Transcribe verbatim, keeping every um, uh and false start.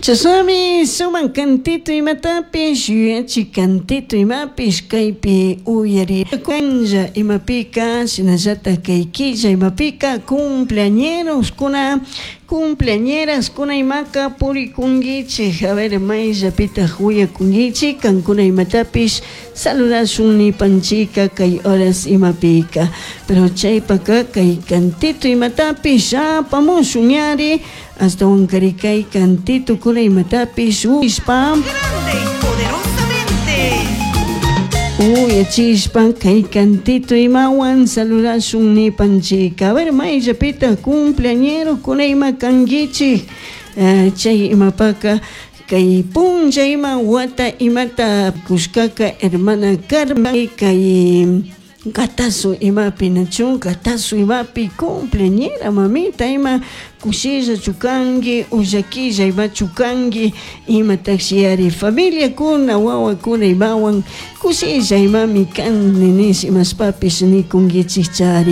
Chashnami sumak cantito imatapish yuyachi cantito imapish kaypi uyarikunlla imapika shinallatak kay killa imapika cumpleañeroskuna cumpleañeraskuna imaka purikunkichik. A ver, mayllapitak uyakunkichik kankuna imatapish saludashun nipanchika kay horas imapika, pero chaypaka kay cantito imatapish apamushun ñari ashtawankari kay cantito kuna imatapish uyashpa Grande y poderosamente. Uyachishpa kay cantito imawan saludashun nipanchika. A ver, mayllapita cumpleañero kuna ima kankichik, eh, chay imapaka kay punlla ima wata imata kushkaka hermana Carmen kay Gatazo imapi nachu gatazo imapi cumpleañera mamita ima kushilla chukanki ullakilla ima chukanki imatashi familiakuna wawakuna imawan kushilla imami kan nish imashpapish nikunkichik chari.